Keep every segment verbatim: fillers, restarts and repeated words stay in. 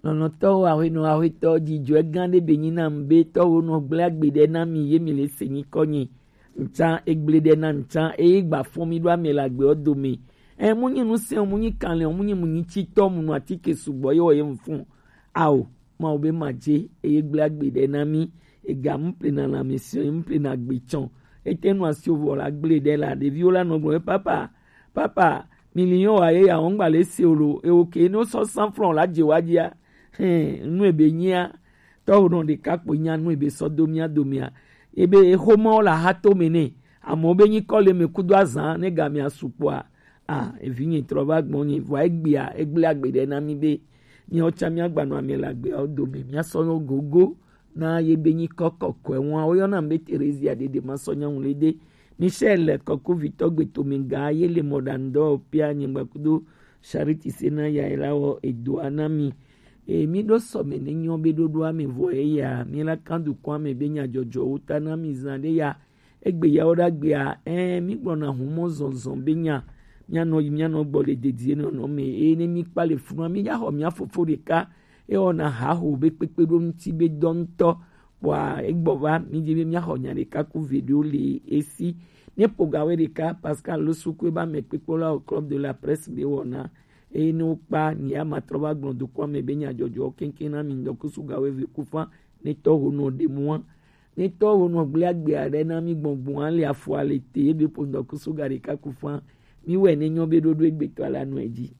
Lɔlɔ̃tɔwo, aƒenɔ, aƒetɔ, dzidzɔe gã ɖe be nyi nam be tɔwo nɔ gblẽ agbe ɖe na mi ye mi le se nyikɔ nyi. Ŋtsa egblẽ ɖe na ŋtsa eye gba fɔn mi ɖo ame le agbeɔ dome. Ɛ, mu nyi nu sɛn, mu nyi kanlɛ, mu nyi mu nyi tsitɔ, mu nu atike sugbɔ ye wɔ ye mu fun. Ao, Mawu be ma dze eye gblẽ agbe ɖe na mi. Ega mu plena lãmesẽ, mu plena agbe tsɔ. Ete nu asi vɔ la gblẽ ɖe la, ɖeviwo la nɔ gblɔ be, papa, papa, mi li yɔ wa ye ya wɔn gba le se o lo, ewo ke ne sɔ san franc la dze wa dzia. Hɛn, nu ebe nyia, tɔwo nɔ ɖeka kpo nya nu ebe sɔ do mia domea. Ebe exomawo la ha to me nɛ. Amewo be nyikɔ le me kudo azan ne gamea sukpɔa. A, evinye trɔ va gbɔnye, vɔa egbea, egblẽ agbe ɖe na mi be, miawo tsã miagba nɔ ame le agbeawo dome, miasɔ nɔ gogo na ye be nyikɔ kɔkɔe ŋua. Woyɔna be Terezia ɖeɖe masɔ nyaŋu le ɖe. Michel Kɔkuvitɔ gbetome ga ye le mɔɖaŋudɔwɔƒea nyigba kudo Charity se na ya la wɔ edoa na mi. E, mi ɖo sɔme ne nyɔ be ɖoɖoa me vɔ eya, mi la kan dukɔa me be nyadzɔdzɔwo ta na mi zan ɖe ya. Egbe yawo ɖe agbea, ɛ, mi gblɔna humɔ zɔzɔ be nya, mianɔ yi mianɔ gbɔ le dedie nɔnɔ me, eye ne mi kpa le funua, mi ya xɔ mia fofo ɖeka, ewɔna haho be kpekpe ɖo ŋuti be dɔ ŋutɔ, kpɔa egbɔ va, mi di be mia xɔ nya ɖeka ku ve ɖewo le esi. Ne pogawe ɖeka, Pascal Losuku ebe ame kpekpe la o Club de la Presse be wɔna, eye ne wokpa, nya ma trɔ va gblɔ dukɔa me be nyadzɔdzɔ keŋkeŋ na mi ŋdɔkusu gawe ve kufa, ne tɔ ho nɔ ɖe mua. Ne tɔ ho nɔ gblẽ agbe aɖe na mi gbɔngbɔn ale afɔ ale te ebe ƒo ŋdɔkusu ga ɖeka ku fã. Mi wɛ ne nyɔ be ɖoɖo egbetɔ la nɔ edzi.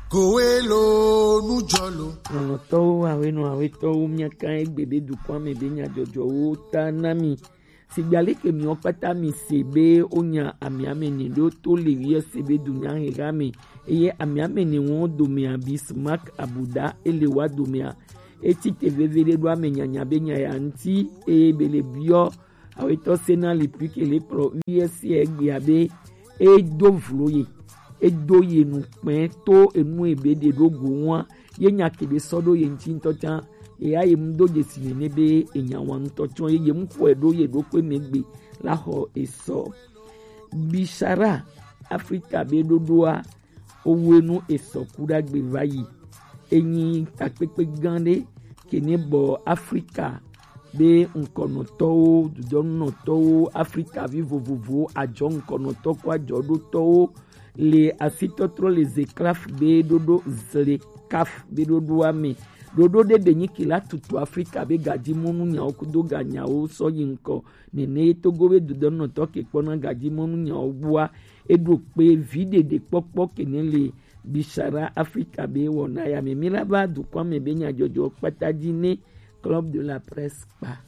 Kowe lo nujɔ lo. Lɔlɔ̃tɔwo, awenɔ awetɔwo, miaka egbe be dukɔa me be nyadzɔdzɔwo ta na mi. Sigba leke miwo kpata mi se be wonya amiame ne ɖo to le wiye se be dunya heha me. Eye amiame ne wo domea Bismarck Abuda ele wa domea. Eti te veve ɖe ɖo ame nyanya be nya ya ŋuti, eye be le biɔ awetɔ se na le pli ke le kplɔ U S C egbea be e do vlo ye, e do ye nu kpɛ to enu ebe ɖe ɖo go ŋua, ye nya ke be sɔ ɖo ye ŋuti ŋutɔ tsã, ye ya ye mu do dzesi nene be enya wa ŋutɔ tsɔ ye, ye mu xɔe ɖo ye ɖo kpe megbe la xɔ esɔ. Bishara Afrika be ɖoɖoa, owe nu esɔ ku ɖagbe va yi. Enyi takpekpe gã ɖe ke ne bɔ Afrika be ŋkɔnɔtɔwo, dudɔnɔtɔwo, Afrika vi vovovowo, adzɔ ŋkɔnɔtɔ kɔ adzɔ ɖotɔwo le asitɔtrɔ le zeklaf be ɖoɖo zle kaf be ɖoɖoa me. Ɖoɖo ɖe be nyi ke la tutu Afrika be gadimɔnu nyawo kudo ganyawo sɔ yi ŋkɔ. Nene ye Togo be dudɔnɔtɔ ke kpɔna gadimɔnu nyawo gbua, eɖo kpe vi ɖeɖe kpɔkpɔ ke ne le Bishara Afrika be wɔna ya me. Mi la va dukɔa me be nyadzɔdzɔ kpata dzi ne Club de la Presse kpa.